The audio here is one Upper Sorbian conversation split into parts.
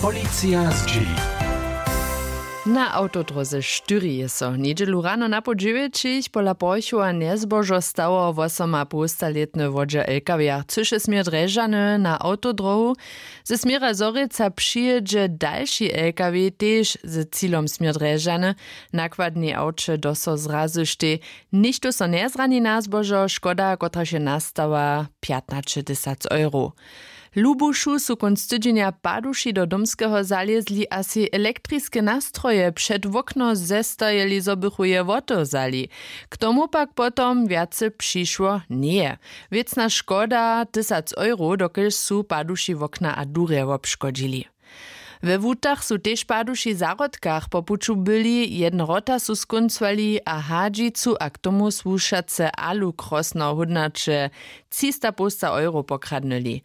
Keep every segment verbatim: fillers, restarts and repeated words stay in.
Policija zdźěli. Na awtodróze štyri je so njedźelu rano napoł dźewjećich pola porchowa njezbožo stało. Wosomapołstalětny wodźer lkw chcyše směr drježany na awtodróhu. Ze směra zhorjelca přijědźe dalši lkw tež z cilom směr drježany. Nakładnej awče doso zrazyštej. Nichtó so njezrani na zbožo. Škoda, kotraž je nastała, pjatnaćetysac euro. W lubušu su kónc tydźenja paduši do domskeho zalězli a sej elektriske nastroje před wokno zestajeli, zo bychu je wotewzali. K tomu pak potom wjace přišło njeje. Wěcna škoda tysac euro, dokelž su paduši wokna a durje wobškodźili. We wutach su tež paduši w zahrodkach po puću byli. Jedne wrota su skóncowali a hadźicu a k tomu słušace alukrosno hódnaće třista połsta euro pokradnyli.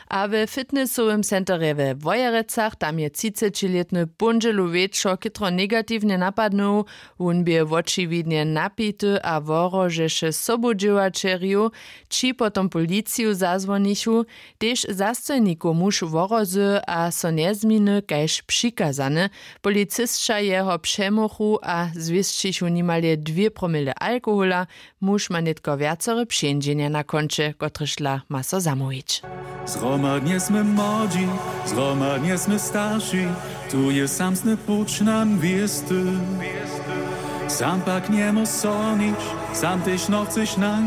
A we fitnessowym centerje we wojerecach, tam je třicećilětny póndźelu wječor chětro negatiwnje napadnył. Wón bě wočiwidnje napity a wohrožeše sobudźěłaćerjow. Ći potom policiju zazwonichu. Tež zastojnikow muž wohrozy a so njezměny kaž přikazany. Policisća jeho přemochu a zwěsćichu nimale dwě promile alkohola. Muž ma nětko wjacore přeńdźenja na konće, kotrež dla ma so zamołwić. Zhromadnje smy młodźi, zhromadnje smy starši, tu je samsny puć nam wěsty. Sam pak njemóž so nič, sam tež nochceš nam